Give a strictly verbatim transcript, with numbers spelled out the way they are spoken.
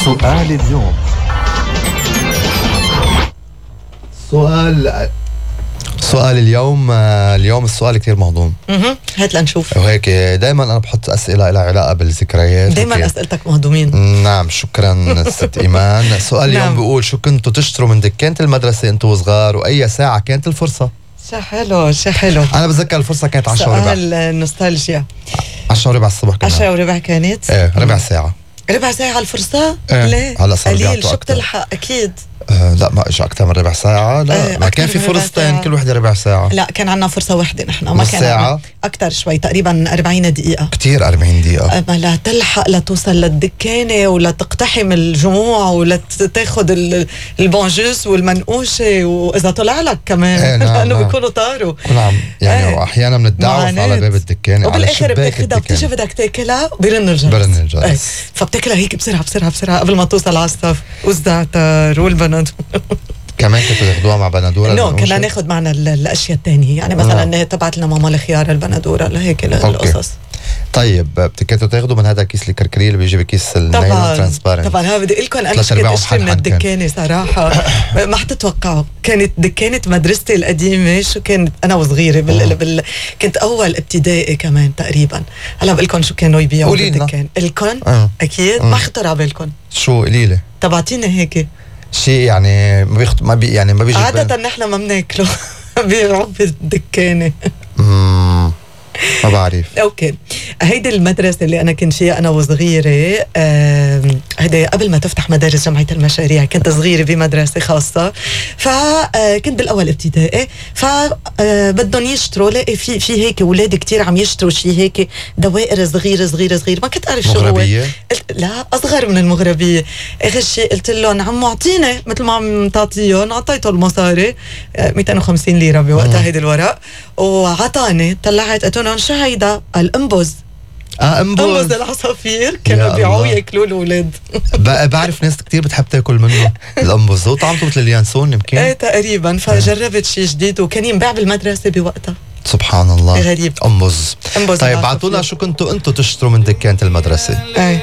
سؤال اليوم. سؤال سؤال اليوم اليوم السؤال كتير مهضوم. اها هات لنشوف. وهيك دايما انا بحط اسئله لها علاقه بالذكريات. دايما اسئلتك مهضومين. نعم شكرا ست ايمان. سؤال اليوم نعم. بيقول شو كنتوا تشتروا من دكانة المدرسه انتوا صغار واي ساعه كانت الفرصه؟ شو حلو شو حلو. انا بتذكر الفرصه كانت عشرة وربع. سؤال النوستالجيا. عشرة وربع الصبح كنا. عشرة وربع كانت؟ ايه ربع ساعه. ربع ساعة الفرصة؟ ايه. ليه؟ هلا صار قليل شو بتلحق أكيد. آه لا ما اجى أكثر من ربع ساعة. لا ايه ما كان في فرصتين كل وحدة ربع ساعة. لا كان عنا فرصة واحدة نحن ما كان ساعة أكثر شوي تقريبا أربعين دقيقة. كتير أربعين دقيقة. أما لا تلحق لتوصل للدكانة ولا تقتحم الجموع ولا تاخد البونجوس والمنقوشة وإذا طلع لك كمان ايه نعم لأنه نعم. بيكونوا طاروا. نعم يعني ايه. وأحيانا بنتدعوف على باب الدكانة وبالآخر بتاخدها بتيجي بدك تاكلها برن الجرس. برن الجرس. ايه. فبتاكلها هيك بسرعة بسرعة بسرعة قبل ما توصل على الصف والزعتر والبندورة. كمان كنتوا تاخدوها مع بندورة؟ نو كنا ناخد معنا الاشياء الثانيه يعني مثلا تبعت لنا ماما الخيار البندوره لهيك القصص. طيب كنتوا تاخدوا من هذا كيس الكركري اللي بيجي بكيس النايلون ترانسبارنت؟ طبعا هذا بدي اقول لكم انا كنت اشتري من الدكانه صراحه ما حتتوقعوا. كانت دكانه مدرستي القديمه شو كانت انا وصغيره بال... بال... كنت اول ابتدائي كمان تقريبا. هلا بقول لكم شو كانوا يبيعوا بالدكان. الكون أه. اكيد أه. ما خطر على بالكم شو قليله تبعتيني هيك شيء يعني ما بيخط... ما بي يعني ما بيجي عادة نحن ما بناكله بيبيعوا بالدكانة. امم ما بعرف. اوكي هيدي المدرسة اللي انا كنت فيها انا وصغيرة. هيدي قبل ما تفتح مدارس جمعية المشاريع كنت صغيرة بمدرسة خاصة فكنت بالاول ابتدائي فبدهم يشتروا لاقي في في هيك اولاد كتير عم يشتروا شيء هيك دوائر صغيرة صغيرة صغيرة ما كنت اعرف شو هو. مغربية؟ لا اصغر من المغربية. اخر شيء قلت لهم عمو اعطيني مثل ما عم تعطيهم. اعطيته المصاري مئتين وخمسين ليرة بوقتها هيدي الورق وعطاني طلعت قلت لهم شو هيدا؟ الانبز. اه انبز انبز العصافير كانوا بيعوا ياكلوا الاولاد. بعرف ناس كتير بتحب تاكل منه الانبز. هو طعمته مثل اليانسون يمكن. ايه تقريبا. فجربت شيء جديد وكان ينباع بالمدرسه بوقتها. سبحان الله غريب. انبز. انبز طيب بعتونا شو كنتوا انتوا تشتروا من دكانة المدرسه. ايه